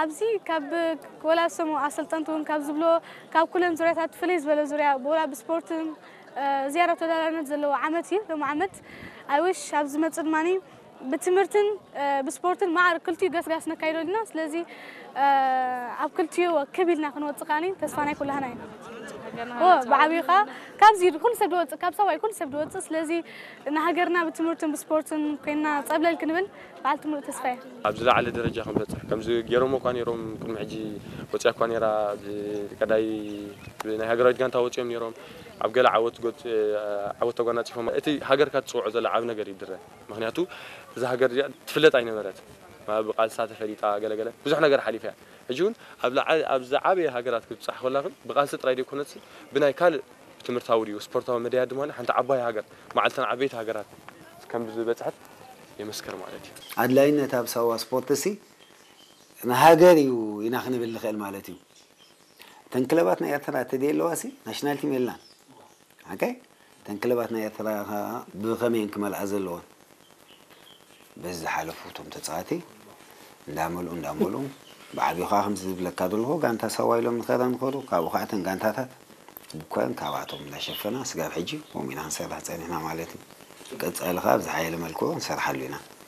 ኣብዚ ካብ ወላ ሰሙ ኣሰልጠንቲ እውን ካብ ዝብሎ ካብ ኩለን ዙርያታት ፍልይ ዝበለ ዙርያ ብወላ ብስፖርትን ዝያዳ ተወዳዳርነት ዘለዎ ዓመት እዩ። ሎም ዓመት ኣይሽ ኣብ ዝመፅእ ድማ ብትምህርትን ብስፖርትን ማዕር ክልቲኡ ገስጋስ ነካይዶ ዲና። ስለዚ ኣብ ክልቲኡ ክብ ኢልና ክንወፅእ ከዓኒ ተስፋ ናይ ኩላህና እዩ። ብዓብዩ ከዓ ካብዚ ኩሉ ሰብ ድወፅእ ካብ ሰብኣይ ኩሉ ሰብ ድወፅእ። ስለዚ ንሃገርና ብትምህርትን ብስፖርትን ኮይና ፀብለል ክንብል በዓልቲ ሙሉእ ተስፋ እየ። ኣብ ዝለዓለ ደረጃ ክንበፅሕ ከምዚ ገይሮሞ እኳ ነይሮም ቅድሚ ሕጂ ወፅያ እኳ ነይራ። ቀዳይ ናይ ሃገራዊት ጋንታ ወፅዮም ነይሮም ኣብ ገለ ዓወት ዓወት ተጓናፂፎም እቲ ሃገርካ ትፅውዖ ዘሎ ዓብ ነገር ይድረ። ምክንያቱ እዛ ሃገር እዚኣ ትፍለጥ ኣይነበረት። ብቃልሳ ተፈሊጣ ገለገለ ብዙሕ ነገር ሓሊፈ እያ። ሕጂ እውን ኣብ ዝዓበየ ሃገራት ክትብፃሕ ኮላ ግን ብቃልሲ ጥራይ ዘይኮነትሲ ብናይ ካልእ ትምህርታዊ ድዩ ስፖርታዊ መዳያት ድማ ሓንቲ ዓባይ ሃገር መዓልተን ዓበይቲ ሃገራት ከም ዝበፅሐት የመስከር ማለት እዩ። ኣድላይነት ኣብ ሳዋ ስፖርት ሲ ንሃገር እዩ ኢና ክንብል ንኽእል ማለት እዩ። እተን ክለባት ናይ ኤርትራ ተደይ ኣለዋ ሲ ናሽናል ቲም የላን። ሓቀይ እተን ክለባት ናይ ኤርትራ ብኸመይን ክመልኣ ዘለዎን በዚ ዝሓለፉ እቶም ተፃዋቲ እንዳመልኡ እንዳመልኡ ብዓብዩ ከዓ ከምዚ ዝብለካ ዘለኹ ጋንታ ሳዋ ኢሎም ንኸረ ንኸሩ ካብኡ ከዓ እተን ጋንታታት ብኮን ካብኣቶም እንዳሸፈና ስጋብ ሕጂ ከምኡ ኢና ክንሰርሕ ፀኒሕና ማለት እዩ። ቀፃሊ ከዓ ብዝሓየለ መልክዑ ንሰርሓሉ ኢና።